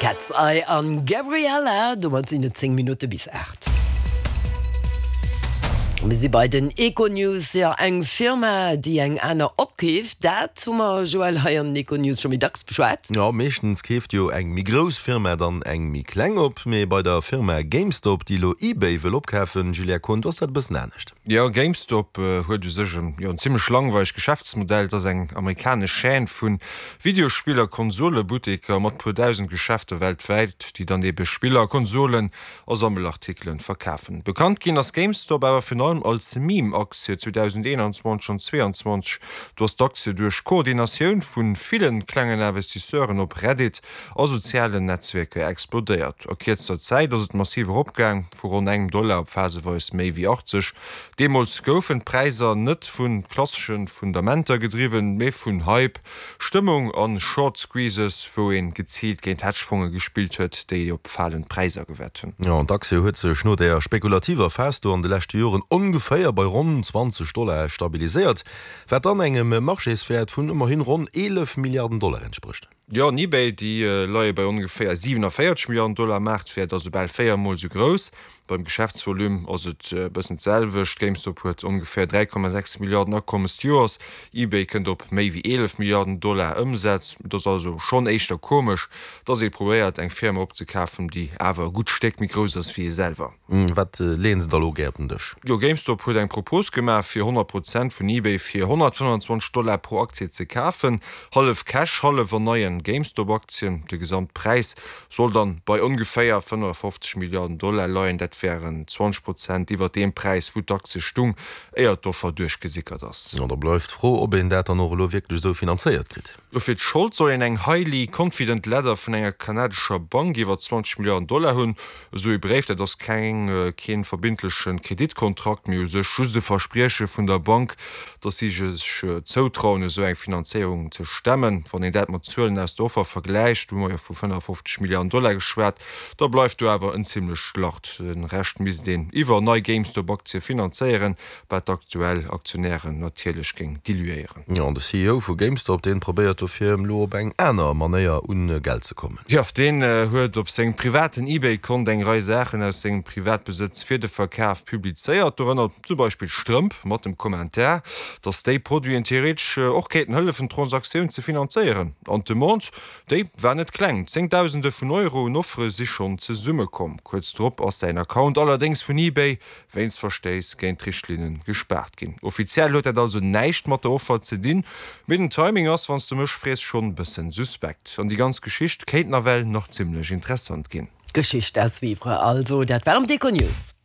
Cat's Eye an Gabriella, domat sinn et 10 Minutte bis 8. Mir si bei den Econews. Jo, eng Firma, déi eng aner opkeeft, dat hu mer, Joël, hei an den Econews scho méi dacks beschwat. Jo, meeschtens keeft jo eng méi grouss Firma dann eng méi kleng op. Mee bei der Firma GameStop, déi elo eBay wëll opkafen, Julia Kohn, do ass dat e bëssen anescht. Jo, GameStop huet u sech en, jo, en zimmlech langweileg Geschäftsmodell. Et ass eng amerikanesch Chaîne vu Videospiller, Konsolebutteker mat puer dausend Geschäfter weltwäit, déi dann ebe Spiller, Konsolen a Sammelartikelen verkafen. Bekannt ginn ass GameStop awer virun allem als Meme-Aktie 2021 an 2022. Do ass d'Aktie duerch Koordinatioun vu villen klengen Investisseuren op Reddit a sozialen Netzwierker explodéiert. A kierzter Zäit ass et massiv eropgaang, vu ronn engem Dollar op phaseweis méi wéi 80. Deemools goufen d'Präisser net vu klassesche Fundamenter gedriwwen, mee vun Hype, Stëmmung an Short Squeezes, wou een geziilt géint Hedgefonge gespillt huet, déi op falend Präisser gewett hunn. Jo, an d'Aktie huet sech no där spekulativer Phas do an de leschte Joren ongeféier bei ronn 20 Dollar stabiliséiert, wat dann engem Marchéswäert vun ëmmerhin ronn 11 Milliarden Dollar entsprécht. Jo, an eBay, déi leie bei ongeféier 47 Milliarden Dollar Maartwäert, also bal 4 mol esou grouss. Beim Geschäftsvolume ass et e bëssen d'selwecht, GameStop huet ongeféier 3,6 Milliarden Akommes d'Joers, eBay kënnt op méi wéi 11 Milliarden Dollar Ëmsätz. Et ass also schonn éischter komesch, dass ee probéiert eng Firma opzekafen, déi awer e gutt Stéck méi grouss ass wéi ee selwer. Wat leeën se da lo gär op den Dësch? Jo, GameStop huet eng Propos gemaach, fir 100 Prozent vun eBay fir 125 Dollar pro Aktie ze kafen. Hallef Cash, hallef an neien GameStop-Aktien. De Gesamtpräis soll dann bei ongeféier 55 Milliarden Dollar leien. Dat wären 20 Prozent iwwer deem Präis, wou d'Aktie stung, éier d'Offer duerchgesickert ass. Jo, da bleift d'Fro, ob een dat dann och elo wierklech esou finanzéiert kritt. Jo, fir d'Schold soll een eng highly confident letter vun enger kanadescher Bank iwwer 20 Milliarden Dollar hunn. Esou ee Bréif, dat ass keng, kee verbindleche Kreditkontrakt, mee u sech just e Versprieche vun der Bank, datt si sech zoutrauen, esou eng Finanzéierung ze stemmen. Wann een dat mat Zuelen aus der Offer vergläicht, hu mer jo vu 55 Milliarden Dollar geschwat, da bleift do awer en zimmlecht Lach. De Rescht misst een iwwer nei GameStop-Aktie finanzéieren, wat d'aktuell Aktionären natierlech géing diluéieren. Jo, an de CEO vu GameStop, deen probéiert dofir elo op eng aner Manéier un Geld ze kommen. Jo, deen huet op sengem privaten eBay-Kont eng Rei Saachen aus sengem Privatbesëtz fir de Verkaf publizéiert, dorënner zum Beispill Strëmp mat dem Kommentar, dass déi Produiten theoretesch och kéinten hëllefen d'Transaktioun ze finanzéieren. An d'Demande, déi war net kleng, Zéngdausende vun Euro un Offere si schonn zesummekomm. Kuerz drop ass säin Account allerdéngs vun eBay wéinst Verstéiss géint d'Richtlinne gespaart ginn. Offiziell huet dat also näischt mat der Offer ze dinn, mee den Timing ass, wann s de mech frees, schonn bëssen suspekt. An déi ganz Geschicht kéint nawell nach zimmlech interessant ginn. Geschicht à suivre also. Dat waren d'Econews.